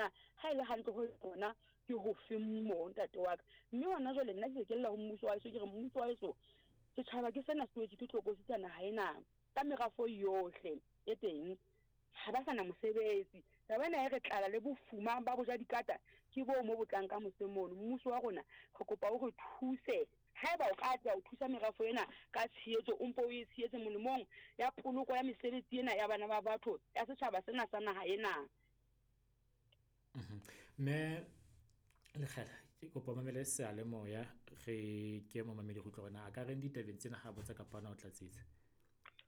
na ha e le hantle ho yona ke hofe moo ntate wa ka. Mme hona jwale nna ke se ke lla ho mmuso wa heso, ke re mmuso wa heso, setjhaba ke sena se wetswe ke tlokotsi tsa naha ena ka merafo yohle e teng. Ha ba sa na mosebetsi. Taba ena e re tlala le bofuma ba boja dikata ke boo mo bo tlang ka mose mono. Mmuso wa rona re kopa o re thuse. Haeba o ka atleha ho thusa merafo ena ka tshehetso, o mpe o e tshehetse molemong ya poloko ya mesebetsi ena ya bana ba batho, ya setjhaba sena sa naha ena. Mme Lekgela, ke kopa o mamele seyalemoya re ke momamedi go utlwa gore na a ka reng ditabeng tsena ha botsa kapa na o tlatsetsa.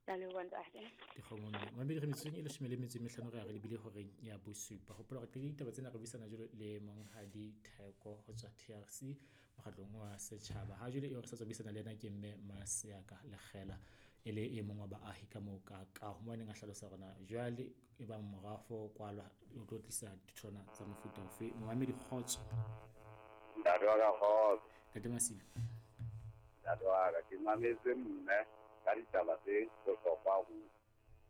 Ke a leboha ntate. Dikgomo mme. Mamedi re metsotsong e leshome le metso e mehlano re ya re lebile horeng ya bosupa. Hopola hore qetile ditaba tsena re buisana jwalo le Monghadi Theko ho tswa TRC mokgatlong wa setjhaba. Ha jwale eo re sa tswa buisana le yena ke mme Maseaka Lekgela e le e mong wa baahi ka moo ka kaho moo a neng a hlalosa hore na jwale e bang morafo o kwalwa o tlo tlisa ditholwana tsa mofuta ofe. Momamedi kgotso. Ntate wa ka kgotso. Ntate Masilo. Ntate wa ka, ke mametse mme ka ditaba tse bohlokwa haholo.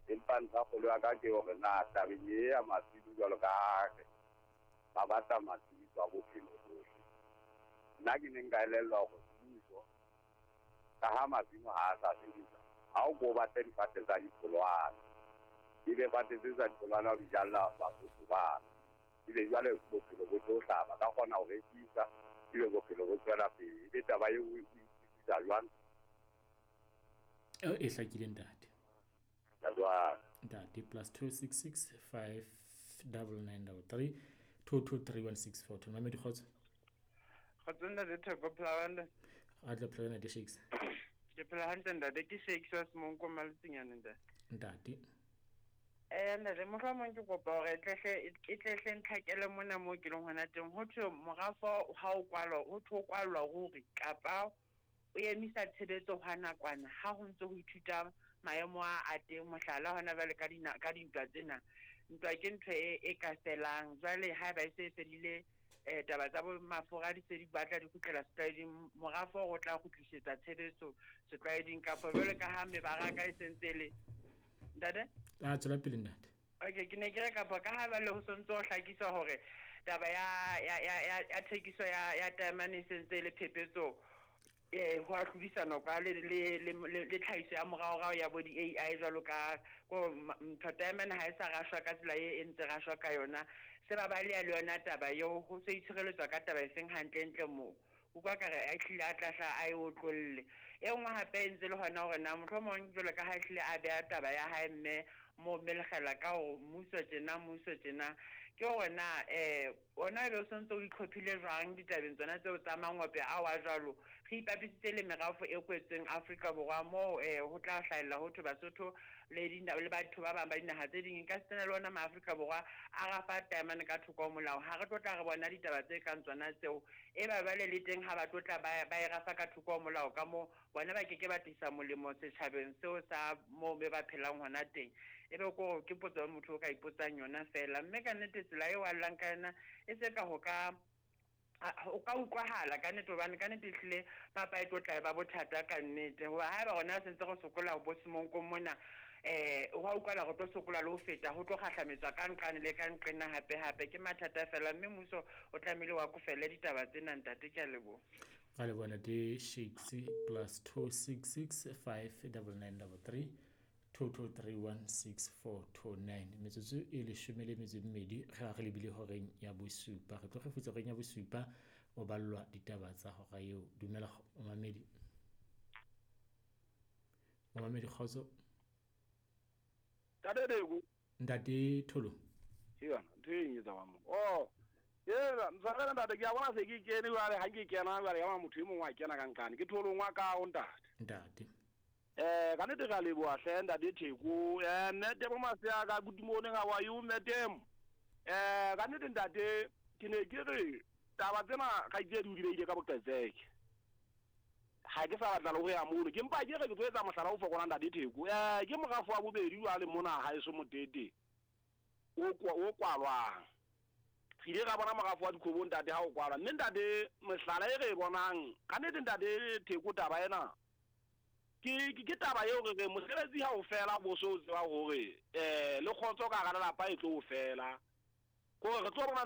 Empa ntlha kgolo ya ka ke hore na tabeng e ya masilo jwalo ka ha re ba batla matshediso a bophelo bohle. Nna ke ne nka elellwa hore mmuso ka ha masimo ha a sa sebetsa, ha o ko batle difate tsa ditholwana. Ebe fate tse tsa ditholwana o di jalla Basotho bana. Ebe jwale bophelo bo tlo hlaha, ba ka kgona ho rekisa, ebe bophelo bo tswela pele. Ebe taba eo o e utlwisisa jwang? Eo e hlakile ntate. Ntate wa ka. Ntate plus 266 5 99 33 223 1642. Mamedi kgotso. Kgotso ntate Theko phela hantle. A tla phela ntate Shakes. Ke phela hantle ntate ke Shakes wa Semonko Maletsinyane ntate. Ntate. Eh ntate mohlomong ke kopa hore e tlehle e tlehle ntlhakele mona moo ke leng hona teng ho thwe morafo ha o kwalwa ho thwe o kwallwa ruri kapa o emisa tshebetso hwa nakwana ha ho ntse ho ithuta maemo a a teng mohlala hona jwale ka dina ka dintwa tsena ntwa ke ntho e e ka felang jwale haeba e se e fedile eh taba tsa bo mafura di se di batla di kgutlela setlwaeding morafo o tla kgutlisetsa tshebetso setlwaeding kapa jwale ka ha mebaraka e sentse le ntate a tswela pele ntate. Okay, ke ne ke re kapa ka ha jwale ho sontse ho hlakiswa hore taba ya ya ya ya, ya thekiso ya ya taemane e sentse e le phephetso eh ho a hlodisanwa kwa le le le, le, le tlhahiso ya moraorao ya bo di-AI jwalo ka ko ntho taemane ha e sa rashwa ka tsela e e ntse rashwa ka yona se ba baleha le yona taba eo ho se itshireletswa ka taba e seng hantlentle moo utlwa ka re a hlile a tla hla a e otlolle. E nngwe hape e ntse le hona hore na mohlomong jwalo ka ha ehlile a beha taba ya hae mme moo mme Lekgela ka hore mmuso tjena mmuso tjena ke hore na um ona ebe o sontse o itlhophile jwang ditabeng tsona tseo tsa mangope ao a jwalo re ipapisitse le merafo e kwetsweng Afrika Borwa moo um ho tla hlahella ho thwe Basotho le le batho ba bang ba dinaha tse ding ka setsena le ona maAfrika Borwa a rafa taemane ka thoko ho molao ha re tlo tla re bona ditaba tse kang tsona tseo Eba jwale le teng ha ba tlo tla ba, ba e rafa ka thoko ho molao ka moo, bona ba ke ke ba tlisa molemo setjhabeng seo sa moo be ba phelang hona teng. Ebe ko ke potso ya motho o ka ipotsang yona feela. Mme ka nnete tsela eo a llang ka yona e se ka ho ka ho ka utlwahala ka nnete hobane ka nnete ehlile papa e tlo tla e ba bothata ka nnete. Hoba haeba rona re sentse re sokola bo Semonkong mona eh hwa utlwala re tlo sokola le ho feta ho tlo kgahlametswa ka nqane le ka nqena hape hape ke mathata fela mme mmuso o tlamehile wa kofele ditaba tsena ntate ke a leboha. Ra leboha ntate Shakes plus 266 599 22316429 metsotso e leshome le metso e mmedi re re lebile horeng ya bosupa re tlo kgefutsa horeng ya bosupa o ballwa ditaba tsa hora eo dumela momamedi momamedi kgotso. Ntate Deko. Ntate Tholo. Ke yona ntho e eng e tsamayang mo. Oh, ela ntshwarele ntate ke a bona se ke kene jwale ha ke kena jwale ya motho e mongwe a kena ka nqane ke Tholong wa kaho ntate. Ntate. Eh ka nnete re a leboha hle ntate Theko. Eh mme Temo Maseaka good morning how are you mme Temo. Eh ka nnete ntate ke ne ke re taba tsena kgaitsedi o di beile ka boqetseke. Ha ke sa batla le ho ya mono. Ke mpa ke re ke tlo etsa mohlala o fokolang Ntate Theko. Eh, ke morafo wa bobedi jwale mona haeso Motete o o kwalwang. Re ile ra bona morafo wa Dikhobo ntate ha o kwalwa. Mme ntate mehlala e re e bonang, ka nnete ntate Theko taba ena ke ke taba eo re reng mosebetsi ha o fela bo so tseba hore eh le kgotso ka hara lelapa e tlo fela. Kore re tlo bona ntho